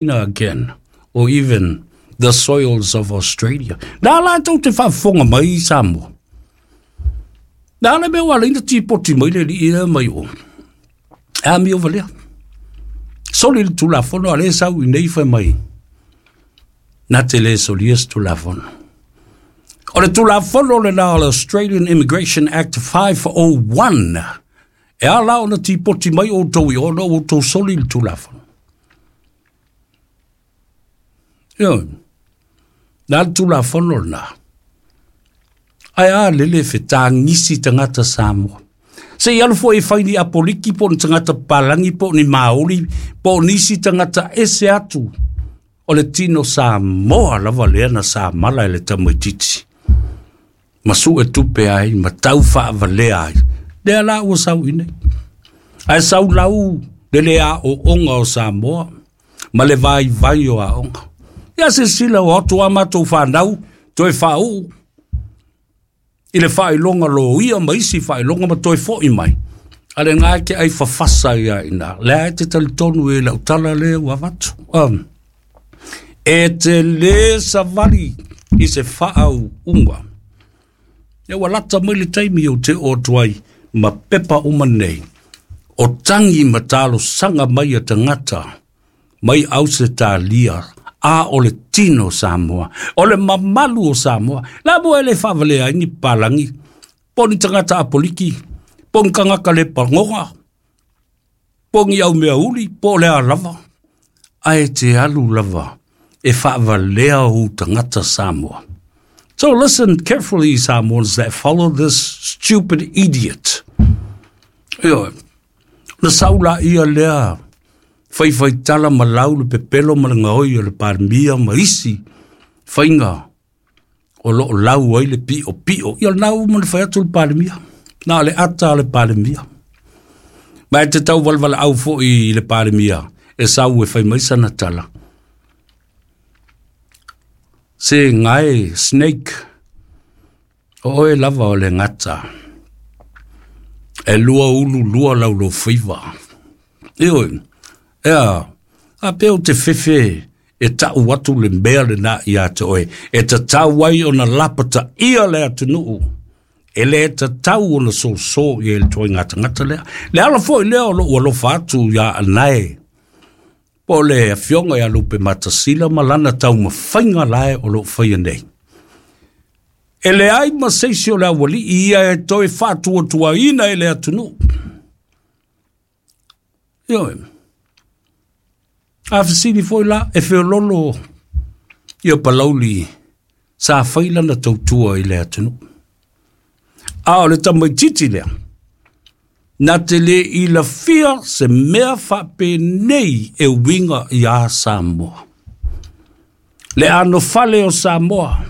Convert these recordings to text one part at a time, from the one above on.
Again, or even the soils of Australia. Na la tou te faafofoga mai i Samoa. Na le mea ua ala ai ona tipoti mai le alii lea mai o. E amio valea. Soli le Tulafono a lea e sau i inei fai mai na te le solia se Tulafono. O le Tulafono lena o le Australian Immigration Act 501 e ala ona tipoti mai outou i o ona ua outou soli le Tulafono. Ioe. Na le Tulafono lena. Ae a lele fetagisi tagata Samoa. Se i alu foi e fai ni apoliki po o ni tagata papalagi po o ni Māori po o nisi tagata ese atu o le tino Samoa lava lea na samala e le tamaitiiti ma sue tupe ai ma tau faavalea ai. Lea la ua sau i nei. Ae sau lau le le aoaoga o Samoa ma le vaivai o aoga. Ia silasila o atu a matou fanau toe faauu i le faailoga loia ma isi faailoga ma toe foi mai. A le na e te ai fafasa ia ina. Lea e te talitonu i lau tala lea ua avatu. E te le savali i se faauuga. Ia ua lata mai le taimi ou te oo atu ai ma pepa uma nei o tagi ma talosaga mai a tagata mai Ausetalia a o le tino o Samoa, o le mamalu o Samoa. La mo e le faavalea ai ni papalagi, po o ni tagata apoliki, po o ni tagata le pagoga, po o ni aumeauli, po o le a lava, ae te alu lava e faavalea ou tagata Samoa. So listen carefully, Samoans that follow this stupid idiot. Ioe, na sau laia lea faifaitala ma lau le pepelo ma le gaoi o le Palemia ma isi faiga o lo o lau ai le piopio. Ia o lena ua uma ona fai atu le Palemia, na o le ata o le Palemia. Ma e te tauvalevaleau foi i le Palemia e sau e fai mai sana tala. Se gae snake, o oe lava o le gata. E lua ulu lua lau lofaiva. Ioe, ea, a pea ou te fefe e tau atu le mea lena ia te oe, e tatau ai ona lapataia le atunuu, e le tatau ona soso i ai le ituaiga tagata lea. Le ala foi lea o lou alofa atu ia Anae, po o le afioga ia Lupematasila ma lana taumafaiga la e o lo o faia nei. E leai ma se isi o le aualii ia e toe faatuatuaina e le atunuu. Ioe. A fesili foi la, e feololo ia Palauli sa fai lana tautua i le atunuu. A o le tamaitiiti lea, na te le ilafia se mea faapenei e uiga iā Samoa. Le anofale o Samoa,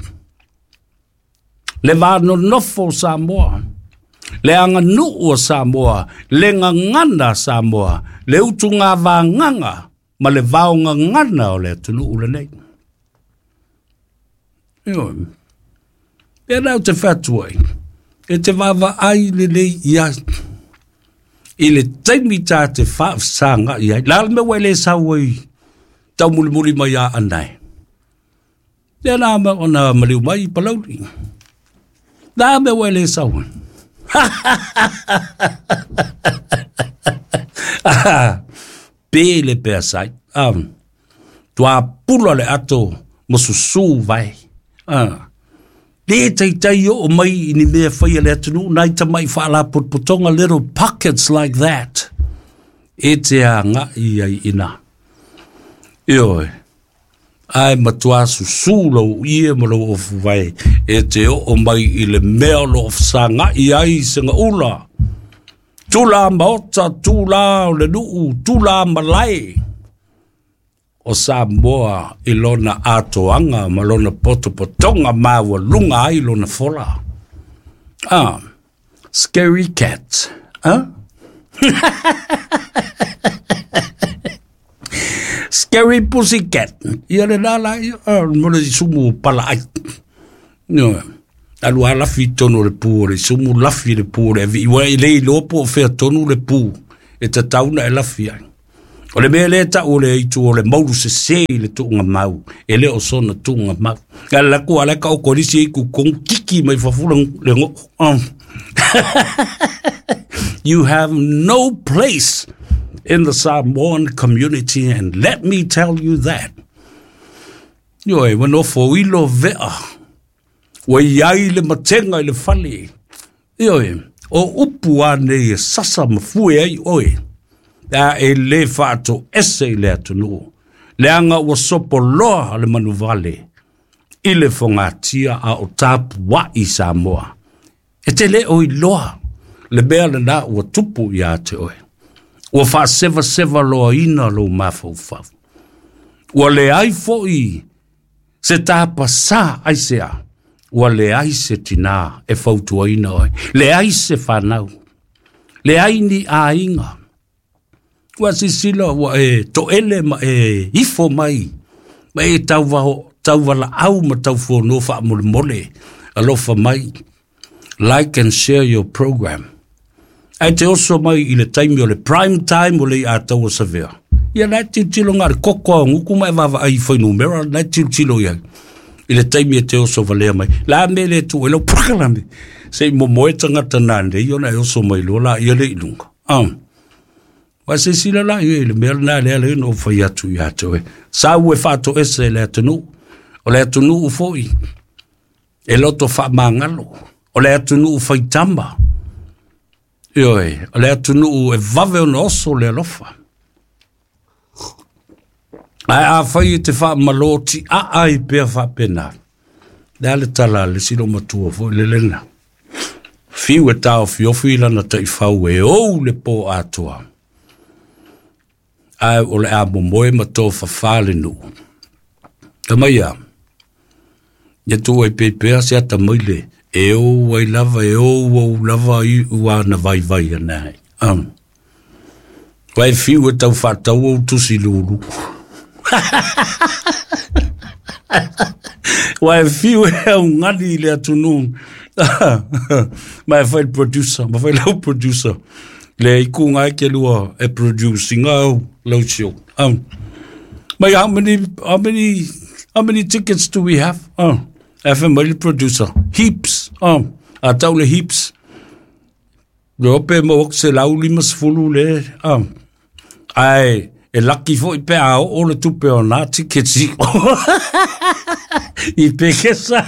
le va nonofo o Samoa, le aganuu o Samoa, le gagana a Samoa, le utugavagaga ma le vaogagana o le atunuu lenei. Ioe. Pea lea ou te fai atu ai, e te vaavaai lelei i ai i le taimi ta te faafesagai ai. La le mea ua e le sau ai taumulimuli mai ia Anae. Lea na ona maliu mai i Palauli. La mea ua e le sau ai. Pe le pea sai. Tuapula le ato ma susū vae. Le taitai oo mai i ni mea fai a le atunuu nai tamai faalapotopotoga little pockets like that e te agai ai i ina. Ioe, ae matua susū lou ie ma lou ofu vae e te oo mai i le mea o lo o fesagai ai segaula. Tula maota, tula o le nuu, tula malae. O Samoa i lona atoaga ma lona potopotoga maualuga ai lona fola. Ah, scary cat, huh? Scary pussy cat. Ia le la la, ia, ah, mo le sumu pala ai. No, alu a lafi tonu le pu o le sumu, lafi le pu o le avi. Ua i le iloa po o fea tonu le pu e tatau na e lafi ai. O le mea lea e tau o le aitu o le maulu sesē i le tuugamau, e le o sona tuugamau. A le laku ala ka o kolisi i kukong kiki mai fafo le ngo. You have no place in the Samoan community, and let me tell you that. Ioe, ua nofo ilo vea. Ua iai le matega i le fale. Ioe, o upu a nei e sasa ma fue ai oe. A e le faatoese i le atunuu. Leaga ua sopoloa le manuvale i le fogatia a o tapuai Samoa. E te le o iloa le mea lena ua tupu ia te oe. Ua faasevaseva loaina lou mafaufau. Ua leai foi se tapasā aisea. Ua leai se tinā e fautuaina oe. Leai se fanau. Leai ni aiga. Ua sisila ua e toele ma e ifo mai. Ma e tauvalaau ma taufono faamolemole. Alofa mai. Like and share your program. Ae te oso mai i le taimi o le prime time o le i ataua savea. Ia la tilotilo ngā le koko a nguku mai vava ai fuainumera la tilotilo ia. I le taimi e te oso valea mai. La me le tu e lau pakalame. Se i momoe tangata nā nei ona e oso mai loa la ia le ilunga. Wa se sila la ia i le mea lena lea le no fai atu ia te oe. Sa ue faatoese e le atunuu. O le atunuu foi. E loto faamagalo. O le atunuu faitama. Ioe, o le atunuu e vave ona oso le alofa. Ae afai e te faamalo tiaa ai pea faapena. Le a le tala a le isi matua foi le lena. Fiu e taofiofi lana taifau e ou le po atoa. Ae o le a momoe ma tofafā le nuu. Tamaia, ia tuu ai pea se ata mai le e ou ai lava, e ou ou lava i ua na vaivai ana ai. Vai fiu e tau whaatau au tusi lulu. Vai fiu e au ngani i le atunuu. Ma e fai le producer, ma fai lau producer. Le iku ngai ke lua e producing au lau show. Mai how many tickets do we have? FM mai le producer. Heaps. A tau le heaps. Le ope mo ok se lau lima sefulu le. Ai, e laki foi pe a o le tupe o nā tickets i. I pekesa.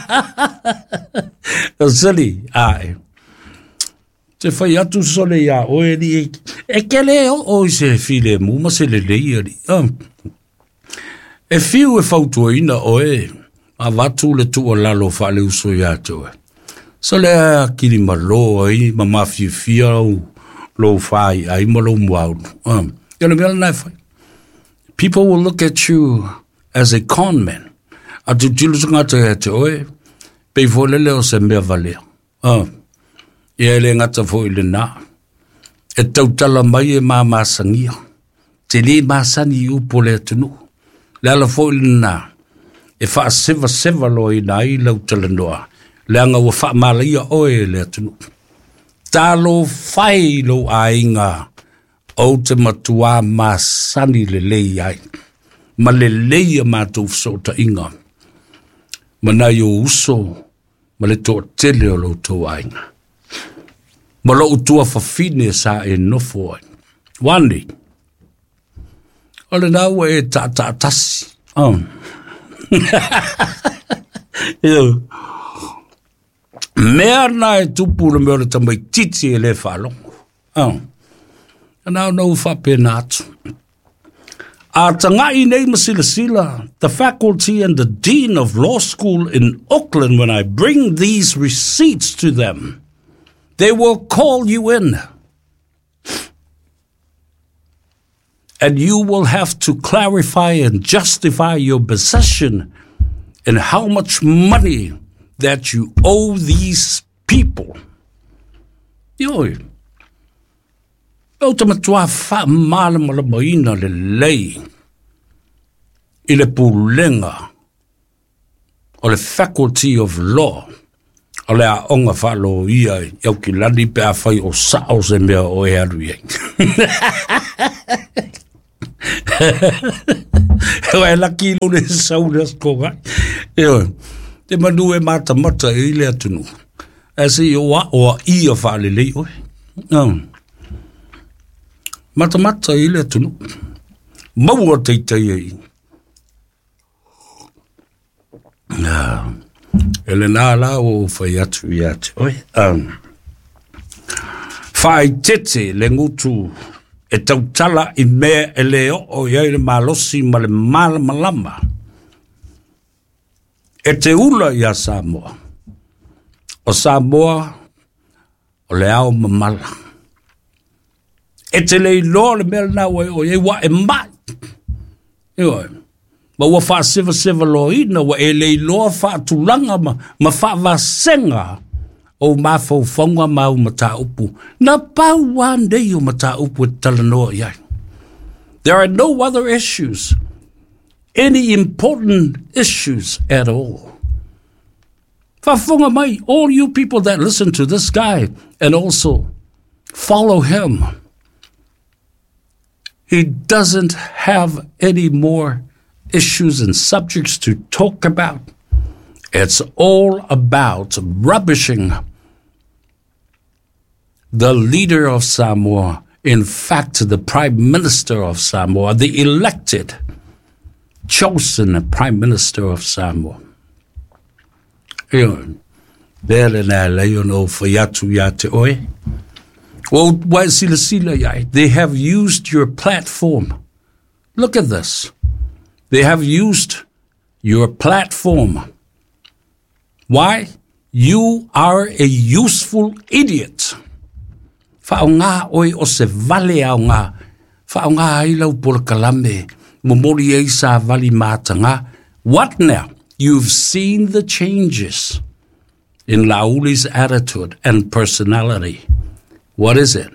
O sali, ai. Te whai atu sole ia oe ni e kele o o i se file mu ma se lelei ali. E fiu e fautuaina oe a vatu le tuualalo faale uso ia te oe. Sole a kili malo ai ma mafiafia au lou whai ai ma lou muaulu. Ia le mea lena e fai. People will look at you as a con man. A tilotilo tagata ia te oe, pei foi lele o se mea valea. Ia e le gata foi lena. E tautala mai e mamasagia. Te le masani i upu o le atunuu. Le ala foi lena. E faasevaseva loaina ai lau talanoa. Leaga ua faamalaia oe e le atunuu. Talo fai lou aiga ou te matuā masani lelei ai. Ma lelei a matou fesootaiga. Ma nai o uso ma le toatele o loutou aiga. Ma lou tuafafine sa e nofo ai. Wane, o lena ua e taataatasi. Io. Mea na e tupu le mea o le tamaitiiti e le faalogo. Ana ona ua faapena atu. A tagai nei ma silasila, the faculty and the dean of law school in Auckland, when I bring these receipts to them, they will call you in. And you will have to clarify and justify your possession and how much money that you owe these people. Ioe, ou te matuā faamalamalamaina lelei i le pulega o le Faculty of Law o le aoga faaloia i Aukilani pe afai o sao se mea o e alu i ai. E laki lo le sau le aso ai. Te manu e matamata i le atunuu. Ae se i o a ia faalelei oe. Matamata i le atunuu. Maua taitai ai. E le nā la o fai atu ia te oe. Faaitete le gutu e tautala i mea e le oo i ai le malosi ma le malamalama. E te ula ia Samoa. O Samoa o le ao mamala. E te le iloa le mea lena ua e o i ai ua e mai. Ioe. Ma ua faasevaseva loaina ua e le iloa faatulaga ma faavasega o mafaufauga ma au mataupu. Na pau lava nei o mataupu e talanoa i ai. There are no other issues, any important issues at all. Faafofoga mai, all you people that listen to this guy and also follow him, he doesn't have any more issues and subjects to talk about. It's all about rubbishing the leader of Samoa, in fact, the Prime Minister of Samoa, the elected, chosen Prime Minister of Samoa. Ioe, lea lena e lei ona ou fai atu ia te oe. Ua ua e silasila i ai. They have used your platform. Look at this. They have used your platform. Why? You are a useful idiot. Faaaoga oe o se vale aoga. Faaaoga ai lau polokalame. Momoli ai savali mataga. What now? You've seen the changes in Lauli's attitude and personality. What is it?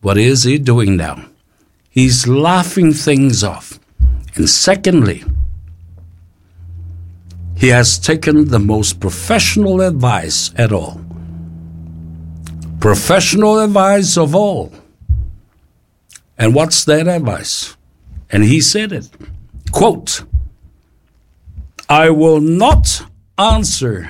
What is he doing now? He's laughing things off. And secondly, he has taken the most professional advice at all. Professional advice of all. And what's that advice? And he said it. Quote, I will not answer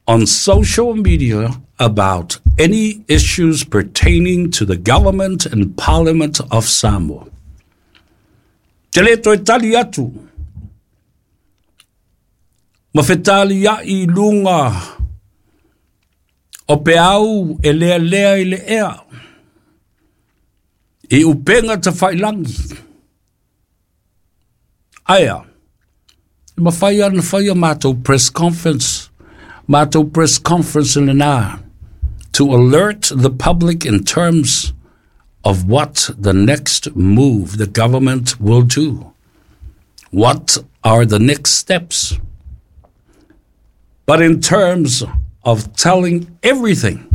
on social media about any issues pertaining to the government and parliament of Samoa. Te le toe tali atu. Ma fetaliai i luga o peau e lealea i le ea. I upega tafailangi. Aia, e mafai ona faia matou press conference, matou press conference lena, to alert the public in terms of what the next move the government will do. What are the next steps? But in terms of telling everything,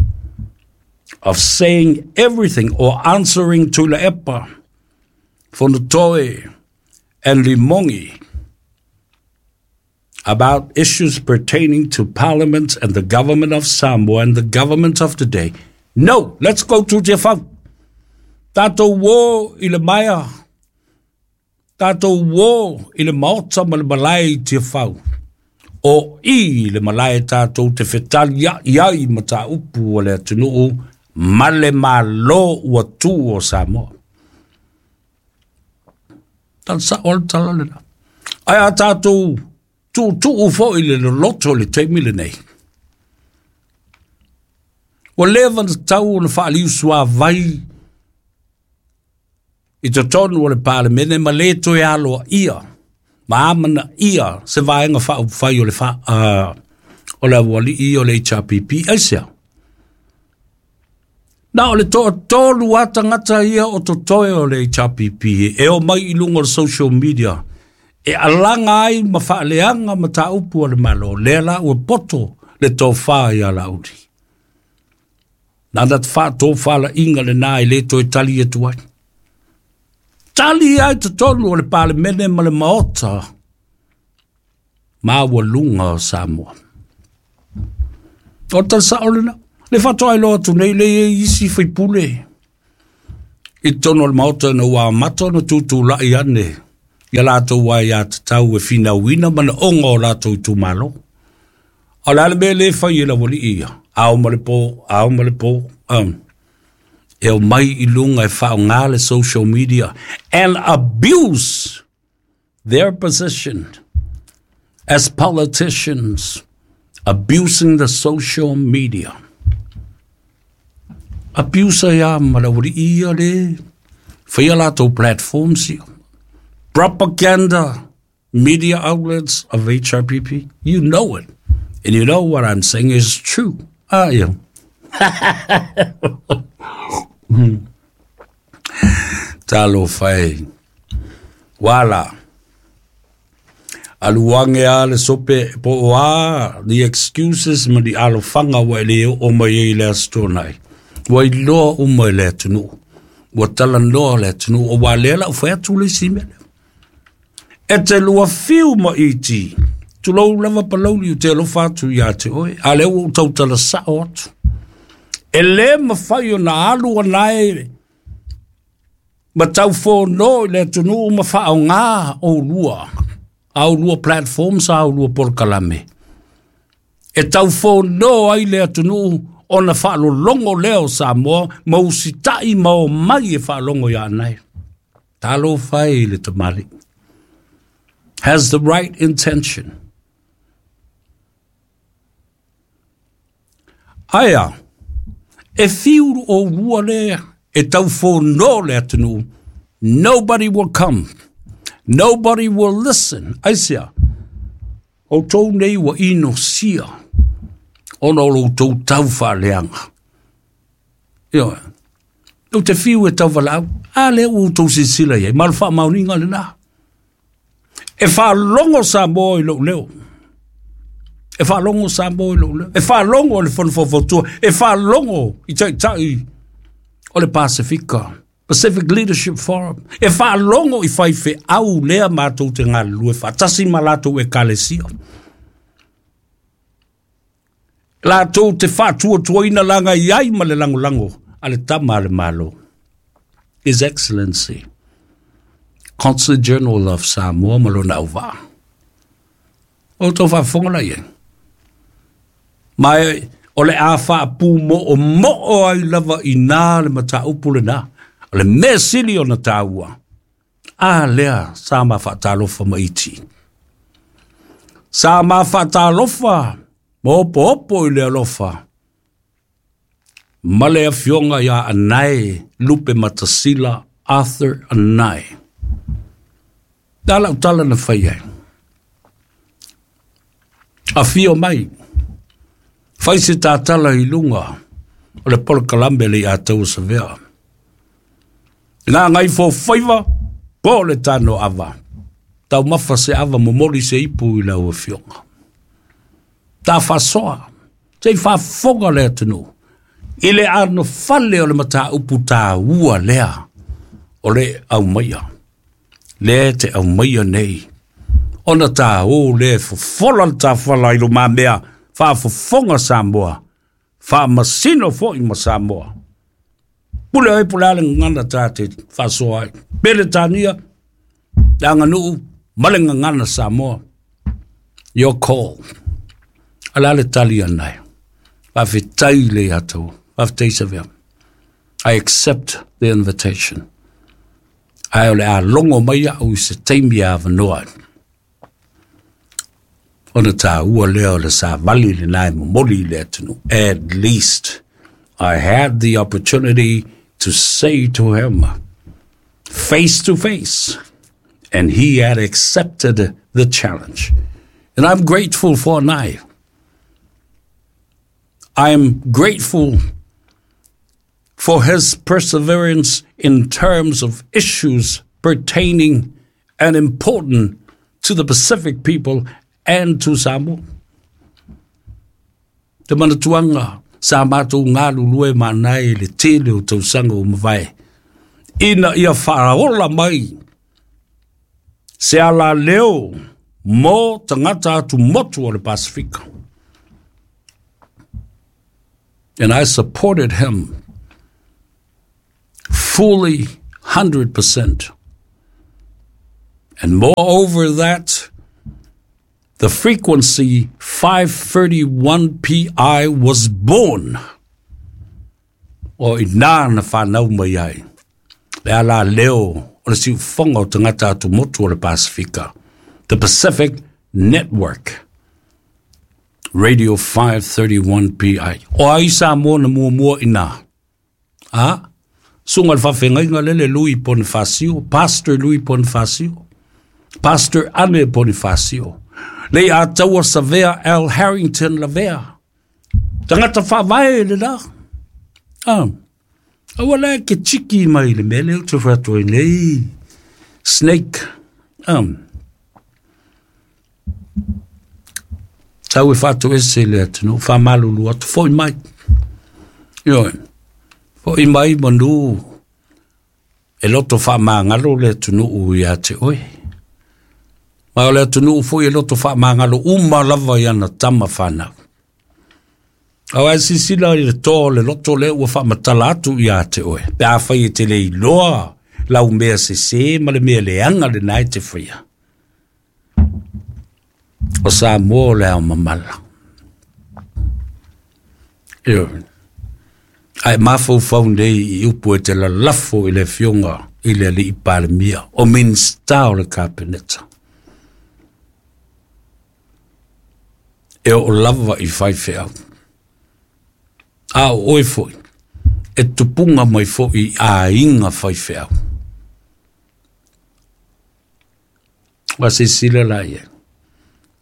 of saying everything or answering to Tuilaepa, Fonotoe, and Limongi about issues pertaining to Parliament and the government of Samoa and the government of the day. No, let's go to Tiafau. Tatou o i le maea, tatou o i le maota ma le malae i Tiafau. O i le malae tatou te fetaliai ai mataupu o le atunuu ma le Malo ua tu o Samoa. Tala sao le tala lena. Ae a tatou tuutuu foi le loloto i le taimi lenei. Ua leva ona tatau ona faaliusuavai i totonu o le Palemene ma le toe aloaia ma amanaia se vaega faaupufai o le fa, o le aualii o le HRPP. Aisea? Na o le toatolu a tagata ia o totoe o le HRPP e o mai i luga o le social media e alaga ai ma faaleaga mataupu a le Malo. Lea la ua poto le tofa ia Laauli. Nana te faatofalaiga lena e le toe tali atu ai. Tali ai totonu o le Palemene ma le Maota maualuga o Samoa. O tala sao lena. Le faatoa iloa atu nei le i ai isi faipule. I totonu o le Maota ina ua amata ona tutulai ane ia latou aiatatau e finauina manaoga o latou itumalo. O le a le mea lea e fai e le aualii ia? Ao ma le po, ao ma le po. E omai i luga e faaaoga le social media and abuse their position as politicians, abusing the social media. Abuse ia ma le aualii ia le faia latou platforms ia. Propaganda media outlets of HRPP, you know it. And you know what I'm saying is true. Ah, yeah. Talofa e. Wala. Alu age a le sope po o a the excuses ma ni alofaga ua e lē oo mai ai i le aso tonai. Ua iloa uma e le atunuu. Ua talanoa le atunuu o ua lea lau fai atu le isi mea lea. E te lua fiu ma iti. Tulou lava Palauli ou te alofa atu ia te oe. A lea ua ou tautala sao atu. E lē mafai ona alu anae ma taufono i le atunuu ma faaaogā oulua. A oulua platforms a oulua polokalame. E taufono ai le atunuu ona faalologo lea o Samoa ma usitai ma o mai e faalogo ia anae. Talofa e i le tamalii. Has the right intention. Aia, e fiu oulua lea e taufono le atunuu. Nobody will come. Nobody will listen. Aisea, outou nei ua inosia ona o lo outou taufaaleaga. Ioe. Ou te fiu e tauvalaau. A lea ua outou silasila i ai. Ma o le faamaoniga lena. E faalogo Samoa i lou leo. E faalogo Samoa i lou leo. E faalogo le Fono Faufautua. E faalogo i taitai o le Pasefika. Pacific Leadership Forum. E faalogo i faifeau lea matou te galulue faatasi ma latou ekalesia. Latou te faatuatuaina laga i ai ma le lagolago a le tama a le Malo. His Excellency, Consul General of Samoa ma lona auvaa. O outou faafofoga la i ai. Ma e, o le a faapumoomoo ai lava i nā le mataupu lenā. O le mea sili ona taua. A lea sa ma faatalofa ma iti. Sa ma faatalofa ma opoopo i le alofa. Ma le afioga ia Anae Lupematasila Arthur Anae. Da lau tala na fai ai. Afio mai. Fai se tatala i luga o le polokalame le ia tau savea. Ngā ngai fo faiva, po le tano ava. Taumafa se ava momoli se ipu i lau afioga. Ta fasoa, se i faafofoga le atunuu. I le anofale o le mataupu taua lea o le aumaia. Lea te aumaia nei. Ona tā o le fofola le tafala i lumamea faafofoga Samoa. Faamasino foi ma Samoa. Pule ai pule ale gagana tā te faasoa ai. Peretania, le aganuu ma le gagana Samoa. Your call. Ala le tali anai. Faafetai le ia tou. Faafetai Savea. I accept the invitation. Ae o le a logo mai au i se taimi avanoa. Ona taua lea o le savali lenā e momoli i le atunuu. At least I had the opportunity to say to him face to face, and he had accepted the challenge. And I'm grateful for Nai. I'm grateful for his perseverance in terms of issues pertaining and important to the Pacific people and to Samoa. Te manatuaga sa matou galulue ma Anae i le tele o tausaga ua mavae. Ina ia faaola mai se alaleo mo tagata atumotu o le Pasefika. And I supported him. Fully 100%. And moreover that, the frequency 531 PI was born. O i nā na whanau mai ai. Le ala leo o le siufonga o tangata atu motu o le Pasifika. The Pacific Network. Radio 531 PI. O ai sa mua na mua mua ina. A? Sunga le whawhengainga lele Louis Bonifacio, Pastor Louis Bonifacio, Pastor Anne Bonifacio, le a taua Savea L. Harrington Lavea. Tangata whavae le la. Ah. Aua la ke tiki mai le mele o te whatua nei. Snake. Tau e whatu ese le atu no, whamalulu atu, foi mai. Ioe. Foi mai manu e loto whamangalo le atu ia te oe. Ma o le atu foi e loto whamangalo uma lava i ana tama whanau. Au ai sisila i le tō le loto le ua whamatala atu ia te oe. Pe a whai e te lei loa lau mea se se ma le mea le anga le nai te whaia. O sa mō le au mamala. Ioe. Ai mafau nei i upu e te lalafo i le fionga i le alii palemia o minista o le kapeneta. E o lava i whai wheau. A o oe foi, e tupunga mai foi i a inga whai wheau. Wa se sila la ia.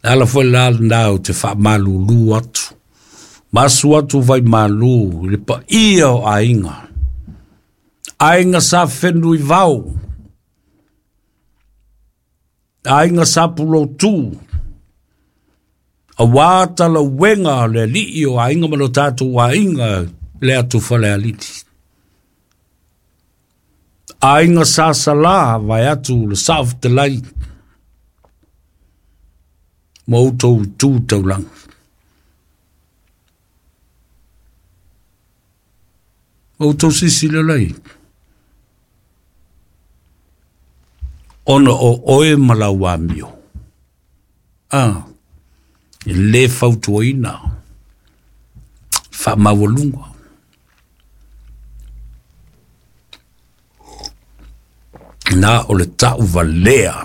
Ala foi la nau te wha malulu atu. Masu atu vai malu le pa ia o ainga. Ainga sa whenui vau. Ainga sa pulo tū. A wāta la wenga le lii o ainga ma lo tātou ainga le atu whale aliti. Ainga sa sala vai atu le saaftelai. Mautou tū taulanga. O tau sisi le lai. Ona o oe malau amio. Ah, le fautuaina. Wha mawalunga. Nā o le tau valea.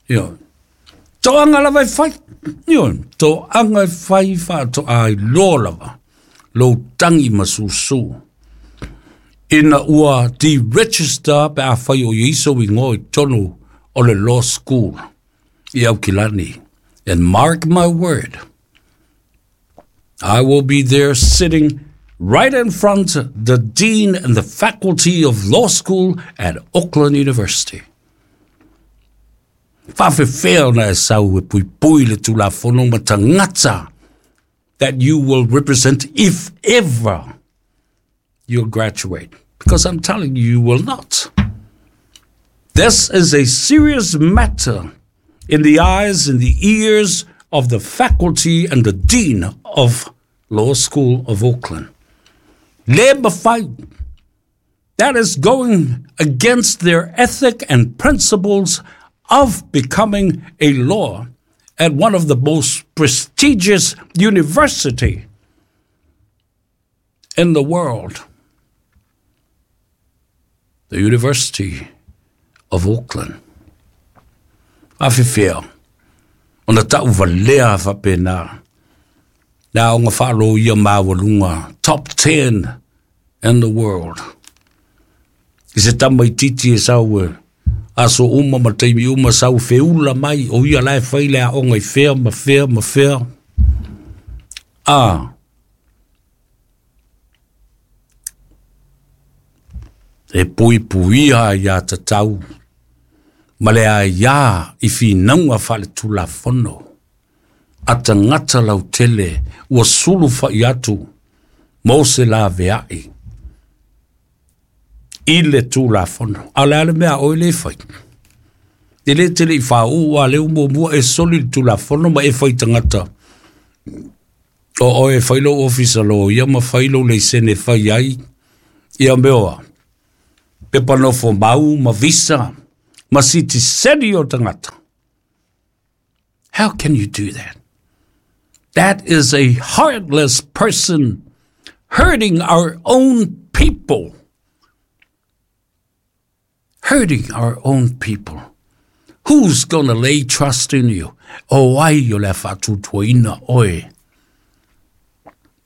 Io. Tō anga lava e whai. Io. Tō anga e whai wha tō ai lō lava. Lō tangi masusu. Ina ua deregister pe a whai o iso i ngoi tonu o le law school i Aukilani. And mark my word, I will be there sitting right in front the dean and the faculty of law school at Auckland University. Whawhewhea na e sau e pui pui le tulafono matangata that you will represent if ever you'll graduate. Because I'm telling you, you will not. This is a serious matter in the eyes and the ears of the faculty and the dean of Law School of Auckland. Labor fight. That is going against their ethic and principles of becoming a law at one of the most prestigious university in the world, the University of Auckland. Awhiwhea, ona tau valea whapena, nā onga whaaro ia mawalunga, top 10 in the world. I se tamai titi e sau e, aso uma ma taimi uma sau wheula mai, o ia lai whaile a onga i whea ma whea ma whea. Ah, e pui puia ia tatau, ma le a ia i whinaunga whale tulafono. A tangata lau tele, ua sulu whai atu, mō se la veai. I le tulafono. A le ale mea oi le whai. E le tele i whāu a le umo mua e soli le tulafono ma e whai tangata. O oe whai lo ofisa lo ia ma whai lo leisene whai ai. Ia meoa. Pepa nofo mau ma visa ma sitiseni o tagata. How can you do that? That is a heartless person hurting our own people. Hurting our own people. Who's gonna lay trust in you? O ai o le faatuatuaina oe.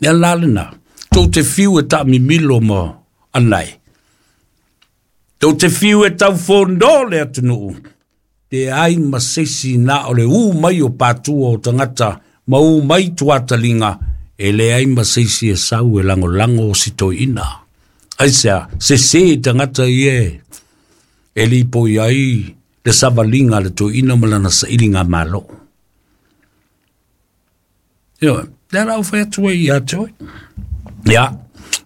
Ia la lena. Tou te fiu e taamimilo ma anai. Tou te fiu e taufono le atunuu. Te ai ma seisi na o le u mai o patua o tagata ma u mai tuataliga e leai ma seisi e sau e lagolago o si toeaina. Aisea, sesē tagata ia e lipoi ai le savaliga a le toeaina ma lana sailiga malo. Ioe, lea la ou fai atu ai ia te oe. Ia,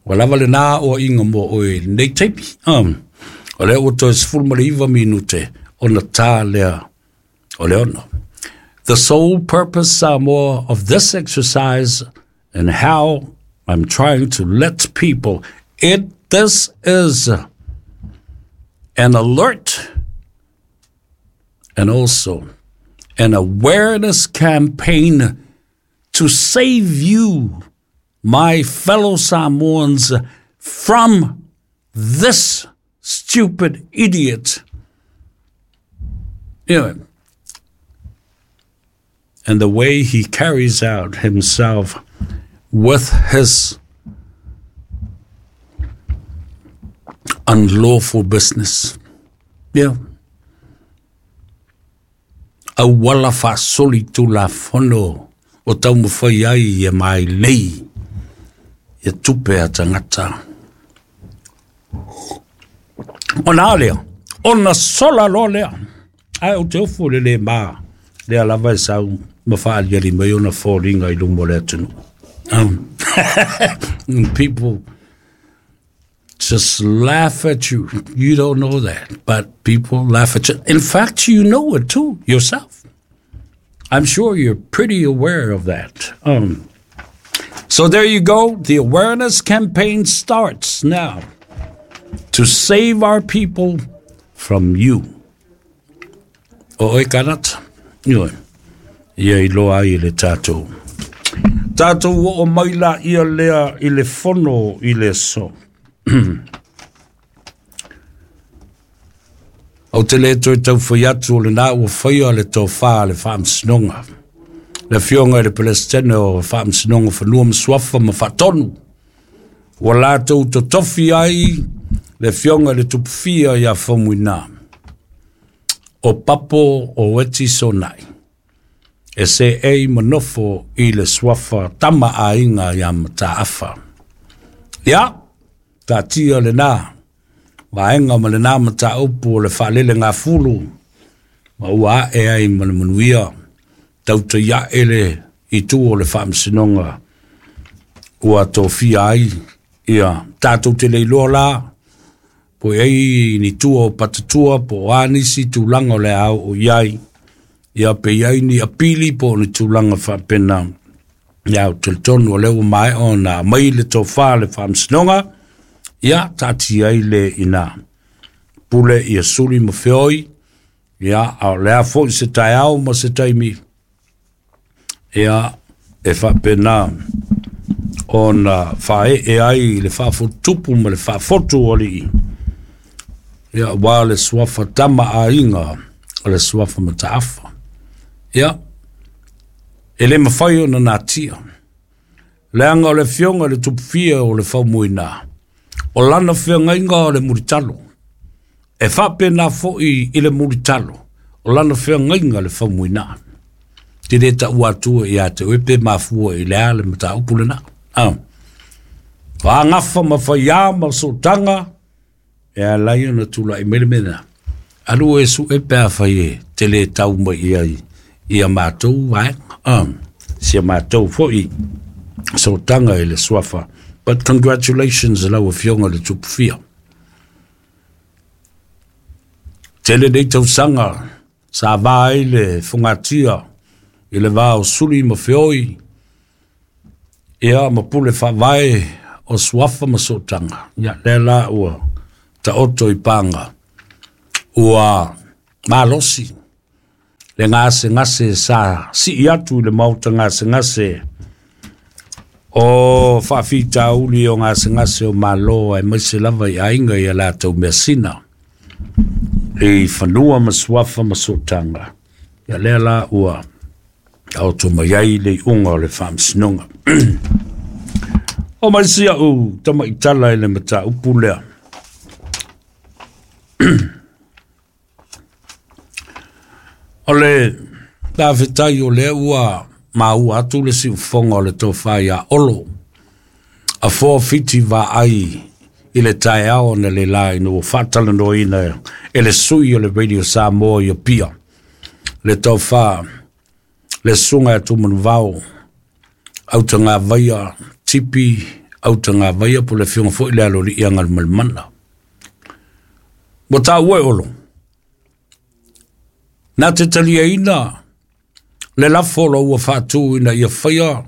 ua lava lenā oaiga mo oe i lenei taimi. O lea ua toe 19 minute ona tā lea o le 6. The sole purpose, Samoa, of this exercise and how I'm trying to let people, it this is an alert and also an awareness campaign to save you, my fellow Samoans, from this stupid idiot. And the way he carries out himself with his unlawful business. Yeah. Auala faasoli tulafono o taumafai ai e mailei ia tupe a tagata. Ona a lea, ona sola loa lea. Ae ou te ofo i le le ma lea lava e sau ma faaliali mai ona foliga i luma o le atunuu. And people just laugh at you. You don't know that, but people laugh at you. In fact, you know it too yourself. I'm sure you're pretty aware of that. So there you go. The awareness campaign starts now to save our people from you. O oe kanata, ioe, ia iloa ai e le tatou. Tatou oo mai la ia lea i le fono i le aso. Ou te le toe taufai atu o lenā ua faia le tofā a le Faamasinoga. Le Afioga i le Peresetene o Faamasinoga Fanua ma Suafa ma Faatonu, ua latou totofi ai le Afioga i le Tupufia ia Faumuina, o Papo o Eti Sonai, e seei ma nofo i le suafa Tama Aiga ia Mataafa. Ia, taatia lenā vaega ma lenā mataupu o le faalelegafulu, ma ua ae ai ma le manuia, tautai ae le itu o le Faamasinoga ua tofia ai ia tatou te le iloa la po i ai ni tua o patatua po o a nisi tulaga o le a oo i ai, ia pe i ai ni apili po o ni tulaga faapena. Ia, ou te talitonu o lea ua maea ona aumai le tofā a le Faamasinoga, ia taatia ai le ina pule ia suli ma feoi, ia a o le a foi se taeao ma se taimi, ia e faapena ona faaee ai le faafotutupu ma le faafotu o alii, ia aua le suafa Tama Aiga o le suafa Mataafa. Ia, e le mafai ona natia, leaga o le Afioga i le Tupufia o le Faumuina, o lana feagaiga o le mulitalo. E faapena foi i le mulitalo, o lana feagaiga le Faumuina. Te le taua atua ia te oe pe mafua i le a le mataupu lena. Ah. Faagafa ma faiā ma sootaga, e ala ai ona tulai mai le mea lena. Alu e sue pe afai e te le tau mai i ai ia matou vaega. Ah. Si a matou foi sootaga i le suafa. But congratulations lau Afioga i le Tupufia. Tele nei tausaga sa va ai le fogatia i le va o suli ma feoi, ia ma pule faavae o suafa ma sootaga. Ia, lea la ua Taoto i paga ua malosi le gasegase sa sii atu i le maota gasegase o faafitauli o gasegase o Malo aemaise lava i aiga i a latou measina i fanua ma suafa ma sootaga. Ia lea la ua taoto mai ai le iuga o le faamasinoga. O mai si au tamaitala i le mataupu lea. O le faafetai o lea ua maua atu le siufofoga o le tofa ia Olo a 4 fiti vaai i le taeao na le la ina ua faatalanoaina e le sui o le Radio Samoa i Apia le tofa le susuga ia Tumanuvao Autagavaia Tipi Autagavaia po o le afioga foi le aloalii Agalimalemana. Ua taua e Olo na te taliaina le lafo o lo ua faatu ina ia faia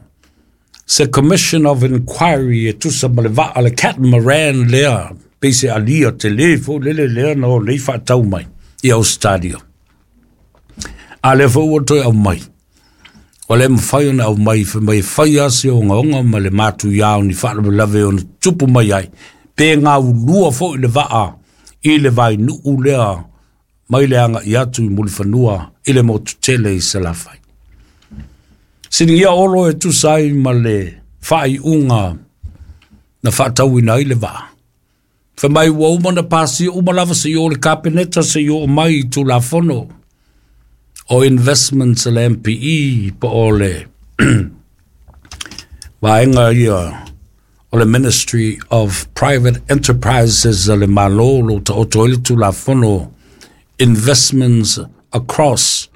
se Commission of Inquiry e tusa ma le vaa le catamaran lea pei se alia tele foi lele lea na o nei faatau mai i Australia. A lea foi ua toe aumai, ua le mafai ona aumai fai mai e fai lava se ogaoga ma le matuia o ni faalavelave ona tupu mai ai, pe gaulua foi le vaa i le vainuu lea mai le agai atu i Mulifanua i le motu tele i Salafai. Siligia Olo e tusa ai ma le faaiuga na faatauina ai le vaa. Fai mai ua uma na pasia uma lava se o le Kapeneta se i oo mai i Tulafono o investments a le MPE po o le vaega ia o le Ministry of Private Enterprises a le Malo lo taoto ai le Tulafono investments across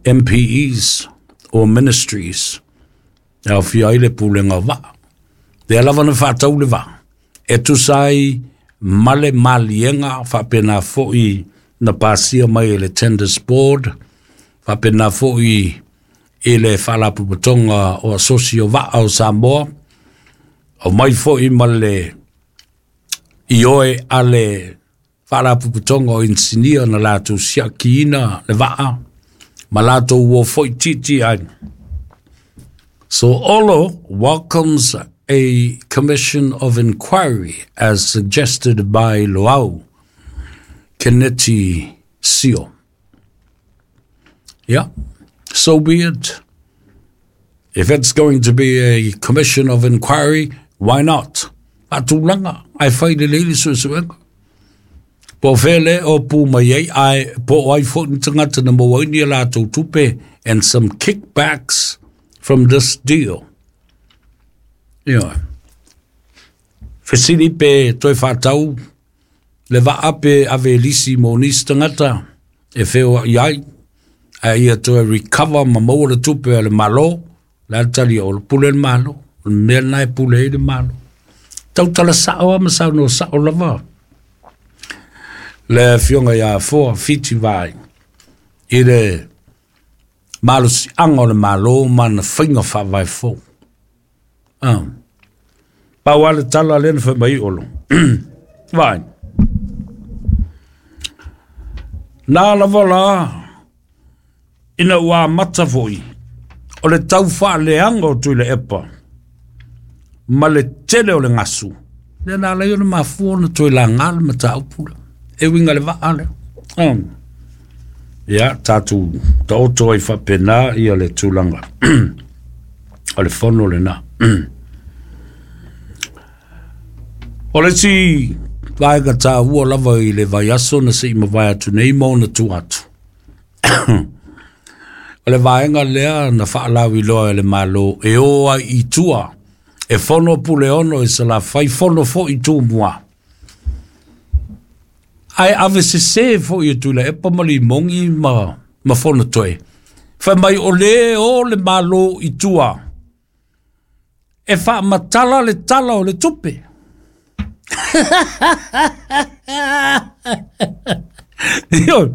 MPEs or ministries e aofia ai le pulega o vaa. Lea lava na faatau le vaa e tusa ai ma le maliega faapena foi na pasia mai e le Tenders Board, faapena foi i le Faalapotopotoga o Asosi o Vaa o Samoa, aumai foi ma le ioe a le Faalapotopotoga o Inisinia na latou siakiina le vaa ma latou o foi tiiti ai. So Olo welcomes a commission of inquiry as suggested by Loau Keneti Sio. Yeah, so be it. If it's going to be a commission of inquiry, why not? Faatulaga, ae fai lelei le suesuega. Po o fea le o pu mai ai, ae po o ai foi ni tagata na maua ai ni a latou tupe and some kickbacks from this deal. Ia. Fesili pe toe faatau le vaa pe ave lisi mo nisi tagata e feoai ai, ae ia toe recover ma maua le tupe a le Malo, le a le tali o le pule le Malo, o le mea lena e pule ai le Malo. Tautala sao lava ma saunoa sao lava le afioga ia Afoa Fiti Vaai i le malosiaga o le Malo ma na faiga faavae fou. Ah. Pau lava le tala lea na fai mai Olo. Vai. Na lava la ina ua amata foi o le tau faaleaga o Tuilaepa ma le tele o le gasu. Lea na ala ai ona mafua ona toe laga le mataupu lea e uiga i le vaa lea. Ia, tatou taoto ai faapena ia le tulaga o le fono lena. O le isi vaega taua lava i le vaiaso na se i mavae atu nei ma ona tu atu, o le vaega lea na faalauiloa e le Malo e o ai i tua e fono Puleono i Salafai, fono foi Tumua. Ae ave sese foi e Tuilaepa ma Limogi ma Fonotoe. Fai mai o le o le Malo i tua e faamatala le tala o le tupe. Ioe.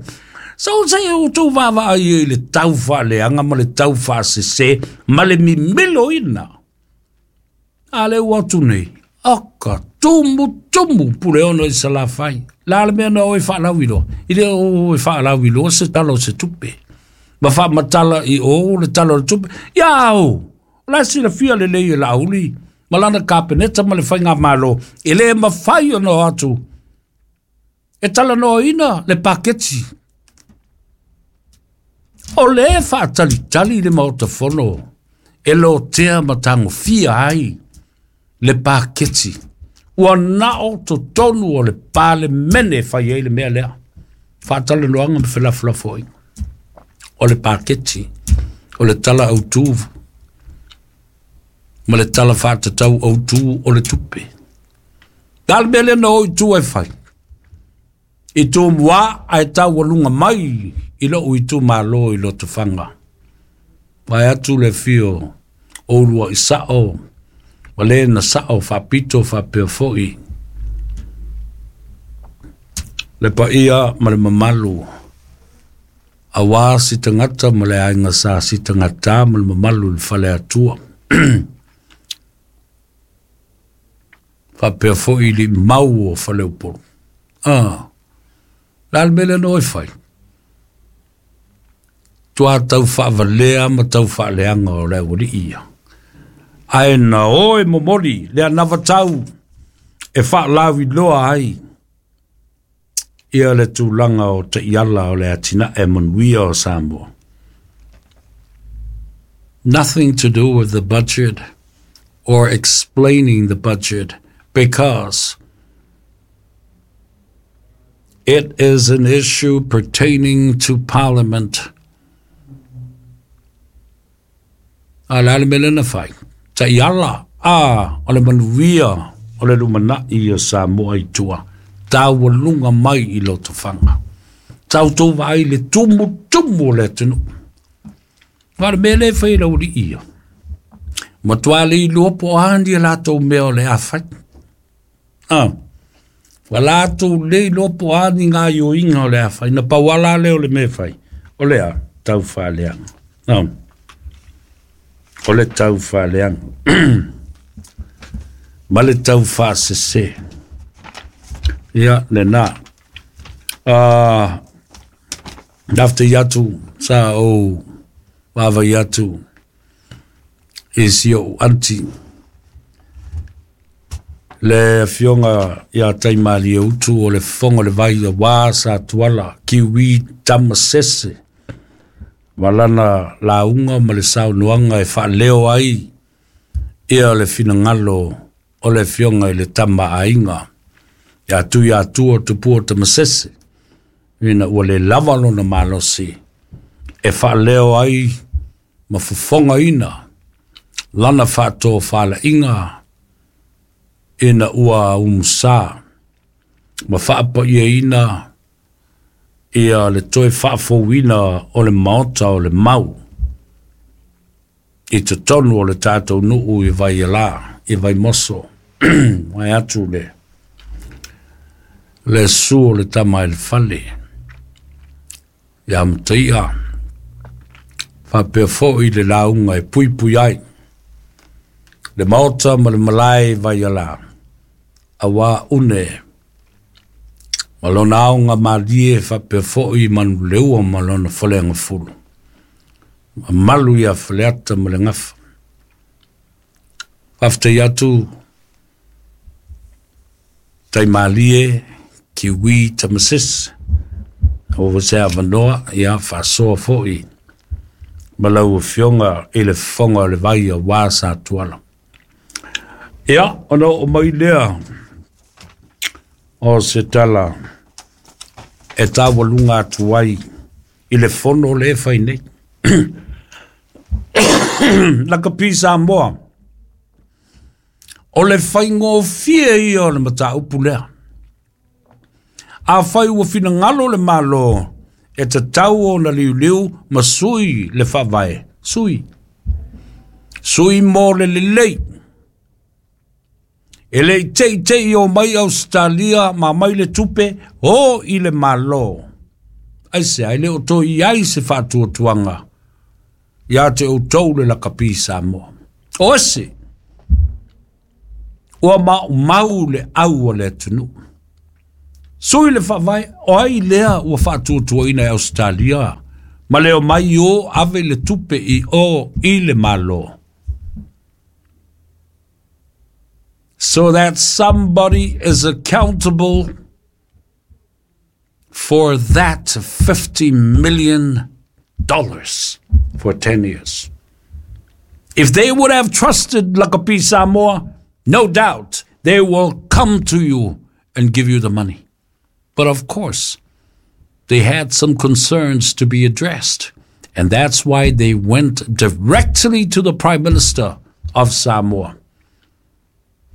So se outou vaavaai ai i le tau faaleaga ma le tau faasese ma le mimiloina. A lea ua atu nei. Oka, tumutumu Puleono i Salafai. La le mea na oe faalauiloa. I le o e faalauiloa se tala o se tupe. Ma faamatala i o le tala o le tupe. Ia o, la silafia lelei e Laauli ma lana kapeneta ma le faigamalo, e le mafai ona o atu e talanoaina le paketi. O le faatalitali le Maota Fono e lotea ma tagofia ai le paketi. Ua nao totonu o le Palemene e fai ai le mea lea. Faatalanoaga ma felafolafoaiga. O le paketi, o le tala autu ma le tala faatatau autu o le tupe. La le mea lea na o i tua e fai. I Tumua ae taualuga mai i lou itumalo i Lotofaga. Vae atu le afio o uluai sao ma le na sao faapito faapea foi le paia ma le mamalu aua si tagata ma le aiga sa si tagata ma le mamalu i le fale atua. Faapea foi i mau o Faleupolu. Ah, la le mea lea na o e fai. Tua tau faavalea ma tau faaleaga o le aualii ia. Ae na o e momoli le anavatau e faalauiloa ai ia le tulaga o taiala o le atinae manuia o Samoa. Nothing to do with the budget or explaining the budget, because it is an issue pertaining to Parliament. A le ale mele na fai. Taiala, a, o le manuia o le lumanai o Samoa i tua. Taualuga mai i Lotofaga. Tautou vaai le tumutumu o le atunuu. Ma le mea lea e fai e le aualii ia. Matua le iloa po o a ni a latou mea o le a fai. Ah, ua latou le iloa po o a ni gaoioiga o le a fai. Na pau lava lea o le mea e fai. O le a tau faaleaga. Ah, o le tau faaleaga. Ma le tau faasese. Ia, lena. Faafetai atu sa ou vaavaai atu i si ou aunty le afioga ia Taimalieutu o le Fofoga o le Vai aua sa Tuala Kiwi Tamasese ma lana lauga ma le saunoaga e faaleo ai ia le finagalo o le afioga i le Tama a Aiga ia Tuiatua Tupua Tamasese, ina ua le lava lona malosi e faaleo ai ma fofogaina lana faatofalaiga ina ua umusa ma faapaiaina ia le toe faafouina o le maota o le mau i totonu o le tatou nuu i Vaiala, i Vaimoso. Vae atu le susu o le tama i le fale ia Mataia, faapea foi le lauga e puipui ai le maota ma le malae i Vaiala, aua une ma lona aoga malie faapea foi Manuleua ma lona faleagafulu. Mamalu ia Faleata ma le Gafa. Faafetai atu Taimalie Kiwi Tamasese o se avanoa ia faasoa foi ma lau afioga i le Fofoga o le Vai aua sa Tuala. Ia, ona oo mai lea o se tala e taualuga atu ai i le fono lea e fai nei. Lakapi Samoa, o le faigofie ia o le mataupu lea. Afai ua finagalo le Malo e tatau ona liuliu ma sui le faavae, sui. Sui mo le lelei. E le i teitei o mai Ausetalia ma mai le tupe o i le Malo. Ai se ai le o toi ai se faatuatuaga ia te outou le lakapi Samoa. O ese. Ua maumau le au o le atunuu. Sui le faavae, o ai lea ua faatuatuaina e Ausetalia ma le omai o ave le tupe i o i le Malo. So that somebody is accountable for that $50 million for 10 years. If they would have trusted Lakapi Samoa, no doubt they will come to you and give you the money. But of course, they had some concerns to be addressed. And that's why they went directly to the Prime Minister of Samoa,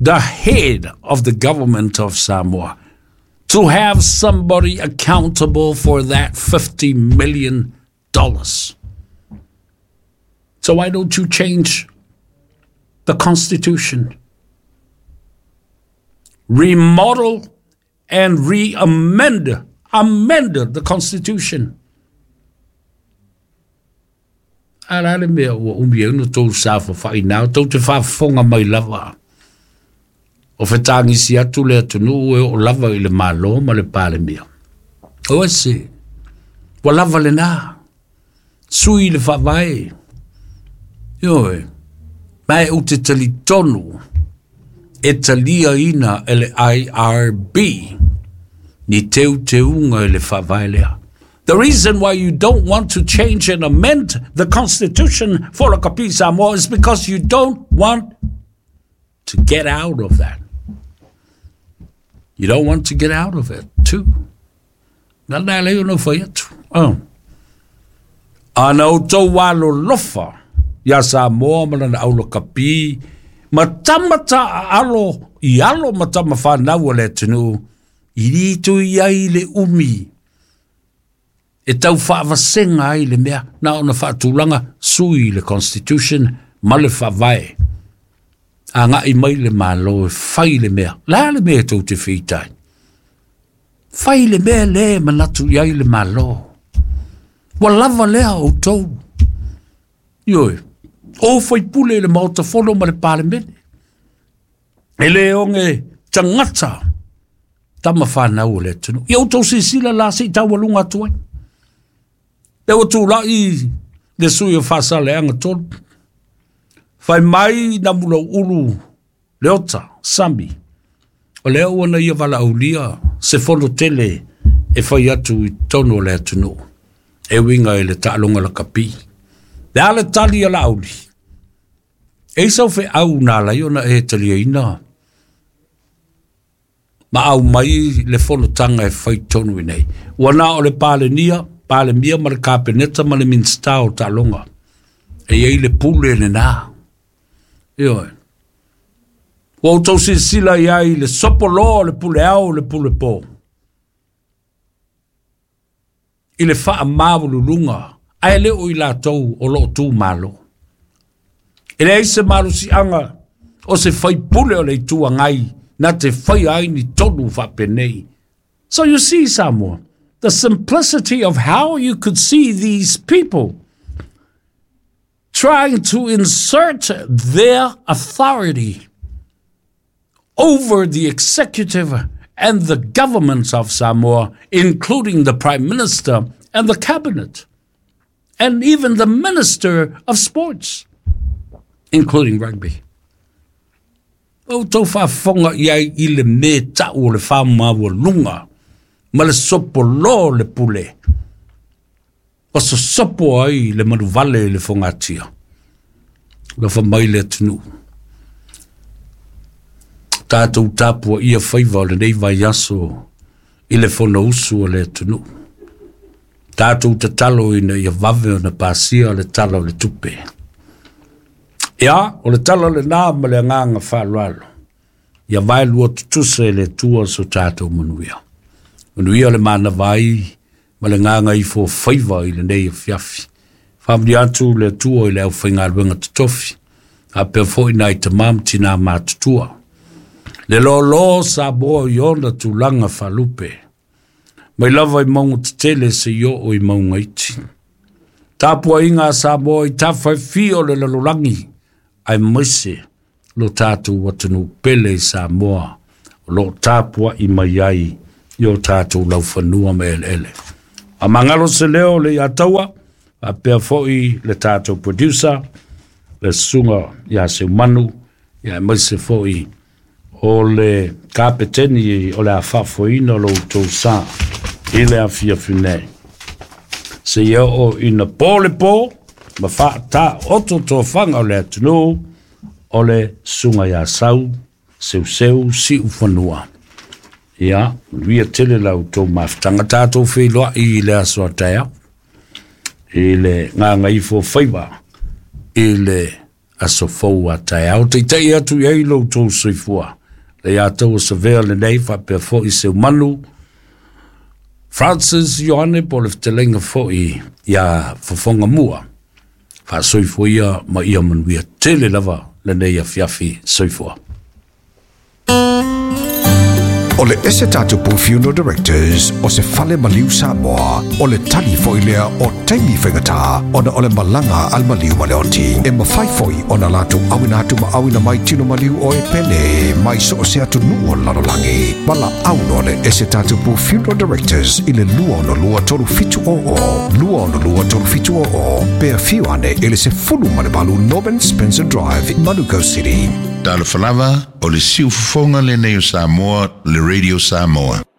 the head of the government of Samoa, to have somebody accountable for that $50 million. So why don't you change the Constitution? Remodel and re-amend amend the Constitution. A la le mea ua umi ai ona tou safafa'i tou te faafofoga mai lava. O fetagisi atu le atunuu e oo lava i le Malo ma le Palemia. O ese, ua lava lenā, sui le faavae. Ioe, ma e ou te talitonu e taliaina e le IRB ni teuteuga i le faavae lea. The reason why you don't want to change and amend the Constitution for Lakapi Samoa is because you don't want to get out of that. You don't want to get out of it, too. Na na le no fai atu. Oh. Ana outou alolofa ia Samoa ma lana aulakapi, ma tamata alo i alo ma tama whanau o le atunuu, i rito i ai le umi, e tau whaavasenga ai le mea, na ona whaatulanga sui le Constitution ma le faavae. A ngai mai le malo e fai le mea. La le mea tou te whitai. Fai le mea le manatu i ai le malo. Ua lava lea o tou. Ioe, o fai pule le maota fono ma le palemene. E le onge tangata tama whanau o le atunuu. Ia outou silasila la se i taualuga atu ai. Le ua tula'i le sui o Faasaleleaga 3. Fai mai na Mulauulu Leota Sami. O lea ua na ia valaaulia se fono tele e fai atu i totonu o le atunuu. E uiga i le taaloga lakapi. Le a le tali a Laauli. E i sau feau na ala ai ona e taliaina ma au mai le fonotaga e fai tonu i nei. Ua na o le Palenia, Palemia ma le Kapeneta ma le Minisita o Taaloga. E i ai le pule lenā. Ioe. Ua outou silasila i ai le sopoloa o le pule ao le pule pō. I le faamaualuluga, ae le o i latou o loo tu malo. E leai se malosiaga o se faipule o le Itu Agai na te faia ai ni tonu faapenei. So you see, Samoa, the simplicity of how you could see these people trying to insert their authority over the executive and the governments of Samoa, including the Prime Minister and the Cabinet, and even the Minister of Sports, including rugby. O outou faafofoga i ai i le mea tau o le faamaualuga ma le sopolō o le pule, ua sosopo ai le manuvale i le fogatia. Alofa mai le atunuu. Tatou tapuaia faiva o lenei vaiaso i le Fonousu a le atunuu. Tatou tatalo ina ia vave ona pasia le Tala o le Tupe. Ia, o le tala lenā ma le agaga faaaloalo, ia vaelua tutusa e le Atua so tatou manuia. Manuia le manava ai ma le gagaifo faiva i lenei afiafi. Faamanuia atu le Atua i le aufaigaluega totofi, faapea foi nai tama ma tinā matutua. Le lōlō Samoa i ona tulaga faalupe, mai lava i mauga tetele seia oo i mauga iti. Tapuaiga a Samoa i tafa e fia o le lalolagi, aemaise lo tatou atunuu pele i Samoa o loo tapuai mai ai i o tatou laufanua ma eleele. Faamagalo se leo le Iataua, faapea foi le tatou producer, le susuga ia Seumanu, ia aemaise foi o le kapeteni o le a faafoeina lo outou sa i le afiafi nei. Seia oo ina po le po ma faataoto tofaga o le atunuu, o le susuga ia Sau Seuseu Siufanua. Ia, manuia tele la outou mafutaga, tatou feiloai i le aso a taeao i le gagaifo faiva i le aso fou a taeao. Taitai atu i ai lo outou soifua. Le Iataua Savea lenei faapea foi Seumanu Francis Ioane po o le fetalaiga foi ia Fofoga Mua. Faasoifua ia ma ia manuia tele lava lenei afiafi. Soifua. O le ese tatou Funeral Directors o se fale maliu Samoa, o le tali foi lea o taimi faigata ona o le malaga al maliu ma le oti. E mafai foi ona latou auina atu ma auina mai tino maliu o e pele mai so o se atunuu o le lalolagi. Valaau le ese tatou Funeral Directors i le 262 3700 262 3700 pe afio ane i le 18 Norman Spencer Drive, Manukau City. Talofa lava, o le siufofoga lenei o Samoa, le Radio Samoa.